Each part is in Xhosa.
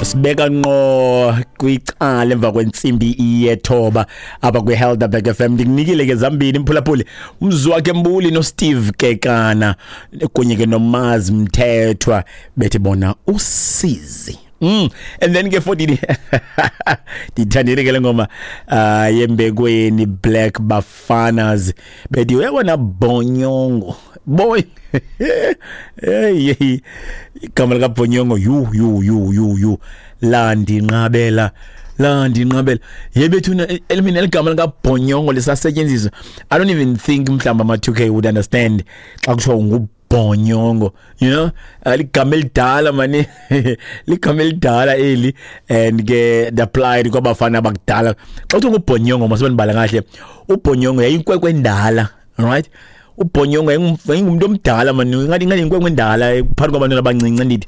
Sibeka ngqo kwicala emva kwentsimbi yethoba apha kwiHelderberg FM. Ndikunikile ke zambini, mphulaphuli, uMzwakhe Mbuli noSteve Kekana kunye ke noMaz Mthethwa, bethi bona usizi. And then ke futhi ndithandile ke le ngoma yembekweni Black Bafanas, bethi uyabona bhonyongo boy. Hey hey, igama lika bhonyongo, yu yu yu yu yu, landinqabela, landinqabela yebethuna elimina eligama lika bhonyongo lisasetyenziswa. I don't even think mhlawumbi ama 2K would understand xa kuthiwa ngubhonyongo, ligama elidala mani, ligama elidala eli, and ke the applied kwabafana abakudala. Xa kuthiwa ngubhonyongo, masibandibala kahle, ubhonyongo yayinkwenkwe endala, right? Ubhonyongo yayingumntu omdala mani, ngathi inkwenkwe endala phakathi kwabantwana abancinci. Ndithi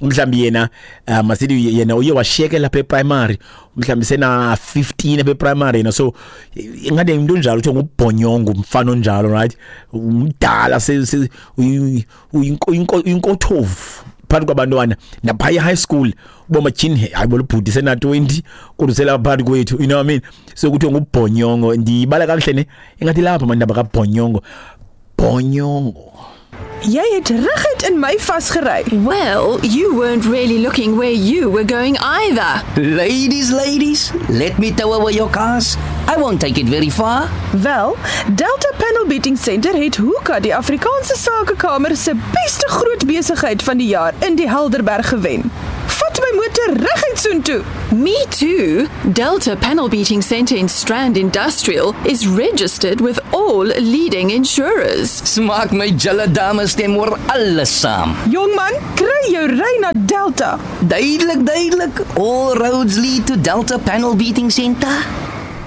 mhlawumbi yena, masithi yena uye washiyekela lapha eprimary, mhlawumbi sena 15 apha eprimary yena, so ingathi into onjalo kuthiwa ngubhonyongo, umfana onjalo, right? Umdala, uyinkothovu phakathi kwabantwana naphaya high school, uba matyhini, hayi bo, bhuti sena 20 kodwa uselapha phakathi kwethu, you know what I mean? So kuthiwa ngubhonyongo. Ndibala kakuhle ne? Ingathi lapha mandaba kabhonyongo, bhonyongo. Jy het reguit in my vasgery. Well, you weren't really looking where you were going either. Ladies, ladies, let me tow away your cars. I won't take it very far. Wel, Delta Panel Beating Center het Hoeka die Afrikaanse Sakekamer se beste groot besigheid van die jaar in die Helderberg gewen. Vat my motor reguit soontoe. Me too. Delta Panel Beating Center in Strand Industrial is registered with all leading insurers. Smaak my julle dames stem oor alles saam. Jongman, kry jou ry na Delta. Duidelik, duidelik. All roads lead to Delta Panel Beating Center.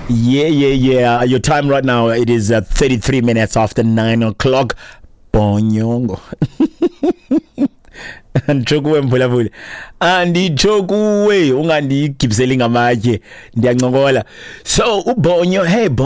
Yeah. Your time right now, it is 33 minutes after 9 o'clock. Bonyongo. Anditsho kuwe, mphulaphuli, anditsho kuwe, ungandigibiseli ngamatye, ndiyancokola. So ubhonyo, hey bo.